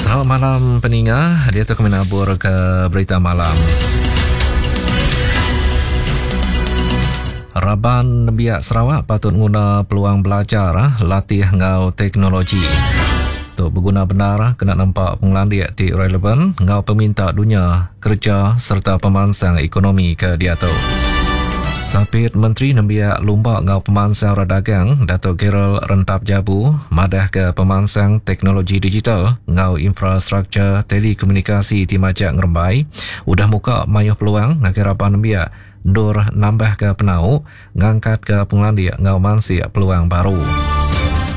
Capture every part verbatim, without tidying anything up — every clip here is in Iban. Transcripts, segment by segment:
Selamat malam peninga, dia tu kami nabur ke berita malam. Raban Biak Sarawak patut nguna peluang belajar latih ngau teknologi. Tu berguna benar kena nampak pengelandik ti relevan ngau peminta dunia kerja serta pemansang ekonomi ke dia tu. Sapit Menteri Nembiak Lumba ngau Pemansang Radagang Datuk Gerald Rentap Jabu madah ke pemansang teknologi digital ngau infrastruktur telekomunikasi ti majak ngerembai udah muka mayuh peluang ngagai raban nembiak ndur nambah ke penau ngangkat ke pengelandik ngau mansik peluang baru.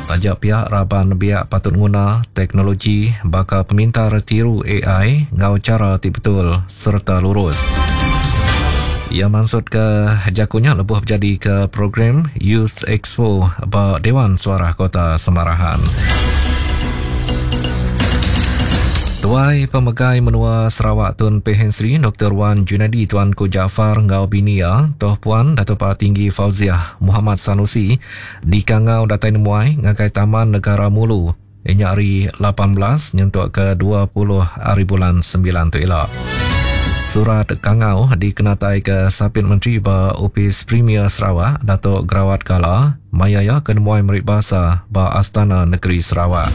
Tajak pihak raban nembiak patut nguna teknologi baka pemintar tiru A I ngau cara ti betul serta lurus. Ia maksud ke jakunya lebuh berjadi ke program Youth Expo ba Dewan Suara Kota Samarahan. Tuai Pemegai Menua Sarawak Tun Pehin Sri Doktor Wan Junaidi Tuanku Jaafar ngau binia Toh Puan Dato' Tinggi Fauziah Muhammad Sanusi di Kangau Datai Nemuai ngagai Taman Negara Mulu inya hari lapan belas nyentuk ke dua puluh hari bulan sembilan tu elok. Surat Kangau dikenatai ke Sapit Menteri ba Opis Premier Sarawak Datuk Gerawat Gala mayaya ke nemuai merik basa ba Astana Negeri Sarawak.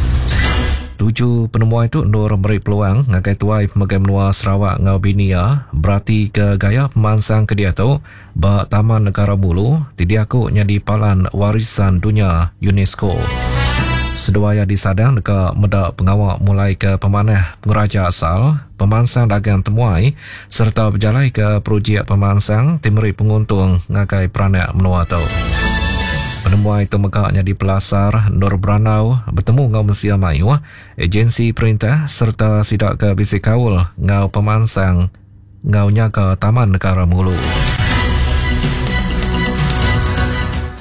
Tuju penemuai tu nur meri peluang ngagai tuai pemegai menua Sarawak ngau binia berarti ke gaya pemansang ke dia tu ba Taman Negara Mulu ti diaku nyadi palan warisan dunia UNESCO. Seduaya disadang deka medak pengawak mulai ke pemanah pengeraja asal, pemansang dagang temuai serta berjalai ke projek pemansang ti meri penguntung ngagai peranak menua tu. Penemuai tu megaknya di Pelasar Nur Beranau bertemu ngau Mensia Mayuh, agensi perintah serta sidak ke bisi kaul ngau pemansang ngau nyaga Taman Negara Mulu.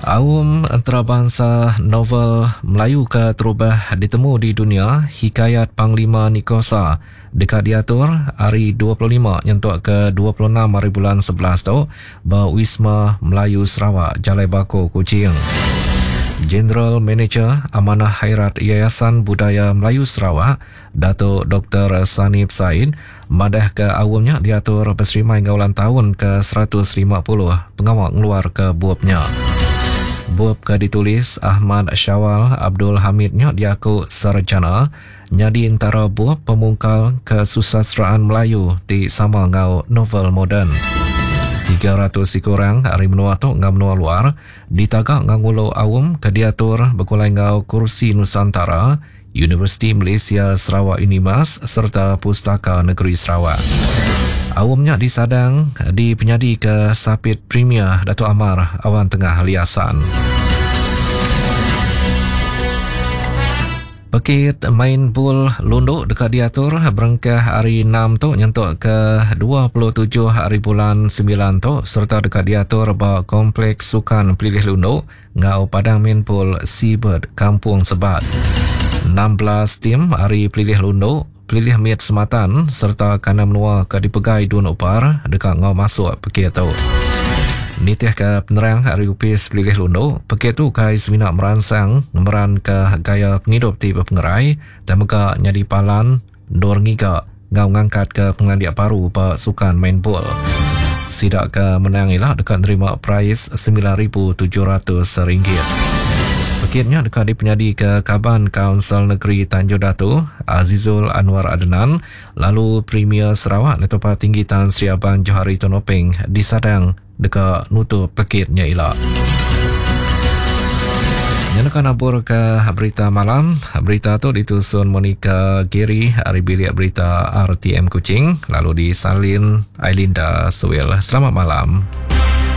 Aum antarabangsa novel Melayu ke terubah ditemu di dunia Hikayat Panglima Nikosa dekat diatur hari dua puluh lima nyentuk ke dua puluh enam hari bulan sebelas tu ba Wisma Melayu Sarawak Jalai Bako Kuching. General Manager Amanah Khairat Yayasan Budaya Melayu Sarawak Datuk Doktor Sanib Said madah ke awamnya diatur berserimai ngau ulang tahun ke seratus lima puluh pengawak ngeluar ke buapnya. Bup ke ditulis Ahmad Syawal Abdul Hamidnya diaku sarjana nyadi antara bup pemungkal kesusastraan Melayu ti sama ngau novel moden. tiga ratus orang hari menua tu ngau menua luar ditagak ngau ngulu awam ke diatur berkulai ngau Kursi Nusantara Universiti Malaysia Sarawak Unimas serta Pustaka Negeri Sarawak. Awamnya disadang di penyadi ke Sapit Premier Datuk Amar Awan Tengah Liasan. Pekit main bul lunduk dekat diatur berengkah hari enam tu nyentuk ke dua puluh tujuh hari bulan sembilan tu serta dekat diatur ba Kompleks Sukan Pelilih Lunduk ngau Padang Main Pool Seabird Kampung Sebat. enam belas tim hari Pelilih Lunduk, Pelilih Miet Sematan serta Kanam Menua ke dipegai Dun Upar dekat ngau masuk pekit tu. Nitih ke penerang hari upis Pelilih Lunduk, pekit tu kai semina meransang ngemeran ke gaya penghidup ti berpengerai dan mega nyadi palan dor ngiga ngau ngangkat ke pengelandik baru ba sukan main bol. Sidak ke menang ialah dekat nerima prize sembilan ribu tujuh ratus ringgit. Pekitnya dekat dipenyadi ke Kaban Kaunsil Negeri Tanjung Datu, Azizul Anwar Adnan, lalu Premier Sarawak Datuk Tinggi Tan Sri Abang Johari Tun Openg disadang dekat nutup pekitnya ialah. Nyanakan abur ke berita malam. Berita tu ditusun Monica Giri hari bilik berita R T M Kuching, lalu disalin Ailinda Suwil. Selamat malam.